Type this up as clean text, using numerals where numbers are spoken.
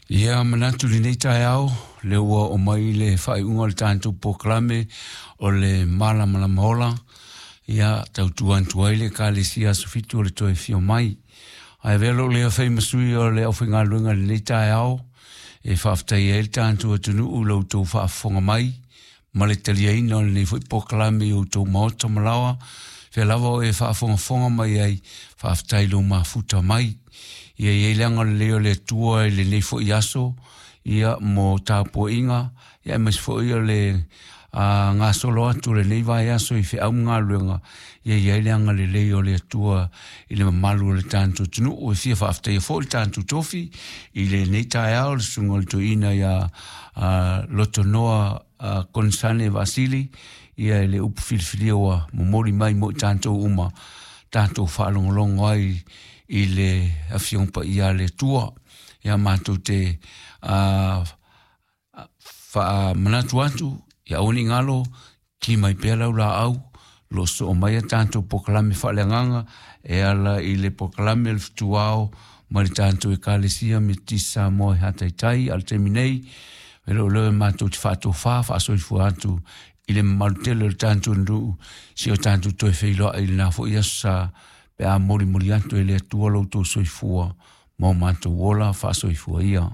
Ia manatu lenei taeao, lea ua oo mai le faaiuga o le tatou polokalame o le Malamalama Ola, ia tautua atu ai le Ekalesia Aso Fitu o le toe afio mai. Ae avea lou lea fai ma sui o le aufaigaluega i lenei taeao, e faafetaia ai le tatou atunuu i lo outou faafofoga mai ma le taliaina o lenei foi polokalame i outou maota ma laoa, fea lava o e faafogafoga mai ai, faafetai i lou mafuta mai. Ia i ai le agalelei o le Atua i lenei foi aso, ia mo tapuaiga, ia aemaise foi o le gasolo atu o lenei vaiaso i feau ma galuega, ia i ai le agalelei o le Atua i le mamalu o le tatou atunuu. E fia faafetaia foi le tatou tofi i lenei taeao, le susuga o le toeaina ia Lotonoa Konesale Vasili, ia i le upu filifilia ua momoli mai mo i tatou uma, tatou faalogologo ai i le Afioga Paia a le Atua. Ia matou te faamanatu atu, ia aua ne i galo, ki mai pea lau laau, lo soo mai a tatou polokalame faaleagaga e ala i le polokalame o le Fetuao ma le tatou Ekalesia Metotisi Samoa i Hataitai. A o le taimi nei, e le o leo e matou te faatofa faasoifua atu i le mamalu tele o le tatou nuu, si o tatou toe feiloai i lena foi aso sa pe a molimoli atu e le Atua lo outou soifua ma o matou ola faasoifua ia.